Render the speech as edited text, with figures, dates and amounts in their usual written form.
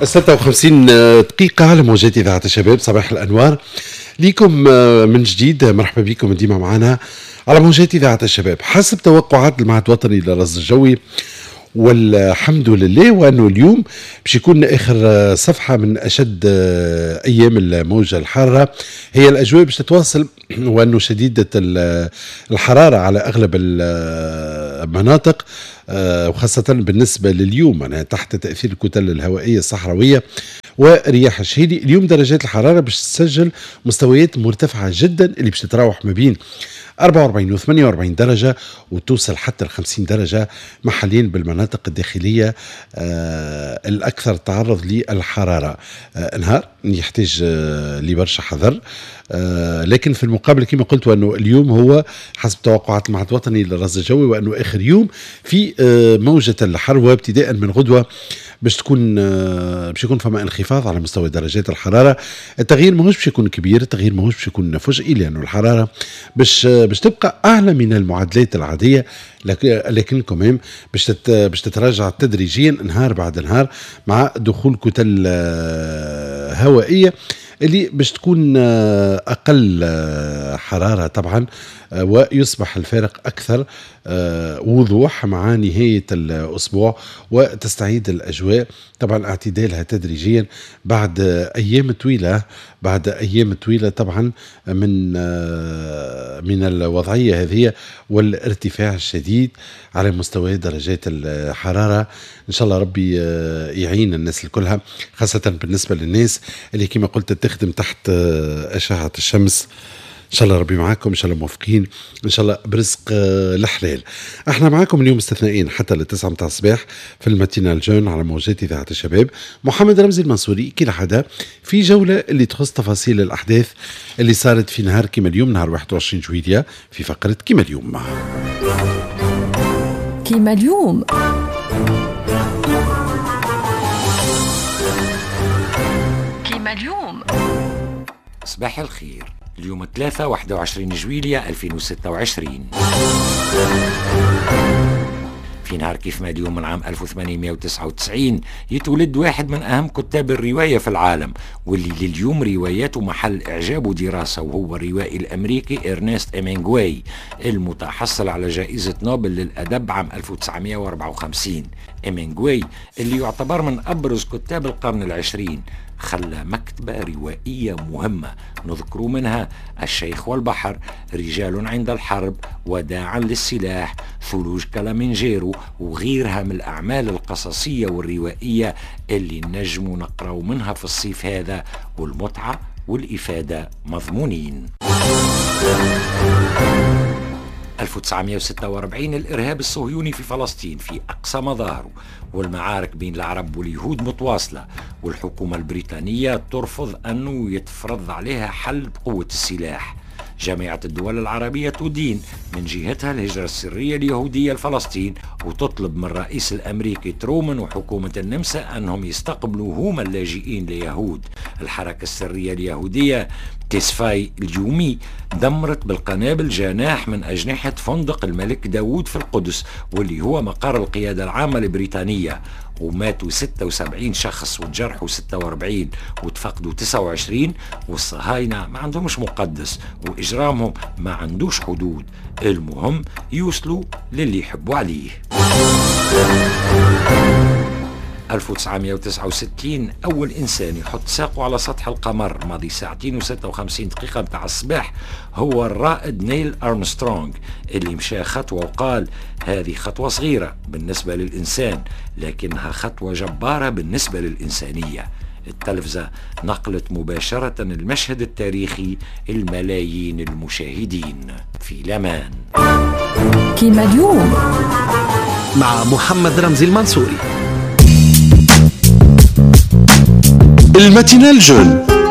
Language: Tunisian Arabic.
56 دقيقة على موجات إذاعة الشباب. صباح الأنوار ليكم من جديد، مرحبا بكم ديما معنا على موجات إذاعة الشباب. حسب توقعات المعهد الوطني للرصد الجوي والحمد لله، وأنه اليوم باش يكون آخر صفحة من أشد أيام الموجة الحارة. هي الأجواء باش تتواصل وأنه شديدة الحرارة على أغلب المناطق، وخاصة بالنسبة لليوم معناها تحت تأثير الكتل الهوائية الصحراوية ورياح الشهيلي. اليوم درجات الحرارة باش تسجل مستويات مرتفعة جدا اللي باش تتراوح ما بين 44 و 48 درجة وتوصل حتى ال 50 درجة محليا بالمناطق الداخلية الأكثر تعرض للحرارة. نهار يحتاج لبرشا حذر، لكن في المقابل كما قلت أنه اليوم هو حسب توقعات المعهد الوطني للرصد الجوي وأنه آخر يوم في موجة الحر، وابتداء من غدوة باش يكون فما انخفاض على مستوى درجات الحرارة. التغيير ماهوش باش يكون كبير، التغيير ماهوش باش يكون فجئي، لأنه الحرارة باش تبقى أعلى من المعادلات العادية، لكن كمان باش تتراجع تدريجيا نهار بعد نهار مع دخول كتل هوائية اللي باش تكون أقل حرارة طبعا، ويصبح الفارق أكثر وضوح مع نهاية الأسبوع، وتستعيد الأجواء طبعا اعتدالها تدريجيا بعد أيام طويلة، بعد أيام طويلة طبعا من الوضعية هذه والارتفاع الشديد على مستوى درجات الحرارة. إن شاء الله ربي يعين الناس الكلها، خاصة بالنسبة للناس اللي كما قلت تخدم تحت أشعة الشمس. إن شاء الله ربي معاكم، إن شاء الله موفقين، إن شاء الله برزق الحلال. احنا معاكم اليوم استثنائيين حتى للتسعة متاع الصباح في ال matinale jeune على موجات إذاعة الشباب. محمد رمزي المنصوري كالعادة في جولة اللي تخص تفاصيل الأحداث اللي صارت في نهار كما اليوم، نهار 21 جويلية، في فقرة كما اليوم. كما اليوم كما اليوم. صباح الخير. اليوم 3 21 جويلية 2026. في نهار كيف ما اليوم من عام 1899 يتولد واحد من أهم كتاب الرواية في العالم، واللي لليوم رواياته محل إعجاب ودراسة، وهو الروائي الأمريكي إرنست إمينغواي المتحصل على جائزة نوبل للأدب عام 1954. إمينغواي اللي يعتبر من أبرز كتاب القرن العشرين، خلى مكتبة روائية مهمة نذكر منها الشيخ والبحر، رجال عند الحرب، وداعا للسلاح، ثلوج كلامنجيرو، وغيرها من الأعمال القصصية والروائية اللي نجم نقرأ منها في الصيف هذا، والمتعة والإفادة مضمونين. 1946 الإرهاب الصهيوني في فلسطين في أقصى مظاهره، والمعارك بين العرب واليهود متواصلة، والحكومة البريطانية ترفض أنه يتفرض عليها حل بقوة السلاح. جامعة الدول العربية تدين من جهتها الهجرة السرية اليهودية لفلسطين، وتطلب من الرئيس الأمريكي ترومان وحكومة النمسا أنهم يستقبلوا هما اللاجئين اليهود. الحركة السرية اليهودية تسفاي اليومي دمرت بالقنابل جناح من أجنحة فندق الملك داوود في القدس، واللي هو مقر القيادة العامة البريطانية، وماتوا 76 شخص وتجرحوا 46 وتفقدوا 29. والصهاينة ما عندهمش مقدس وإجرامهم ما عندوش حدود، المهم يوصلوا للي يحبوا عليه. 1969 أول إنسان يحط ساقه على سطح القمر ماضي ساعتين و56 دقيقة متاع الصباح هو الرائد نيل أرمسترونغ، اللي مشى خطوة وقال هذه خطوة صغيرة بالنسبة للإنسان لكنها خطوة جبارة بالنسبة للإنسانية. التلفزة نقلت مباشرة المشهد التاريخي الملايين المشاهدين في لمان. كيما اليوم مع محمد رمزي المنصوري. ال matinale jeune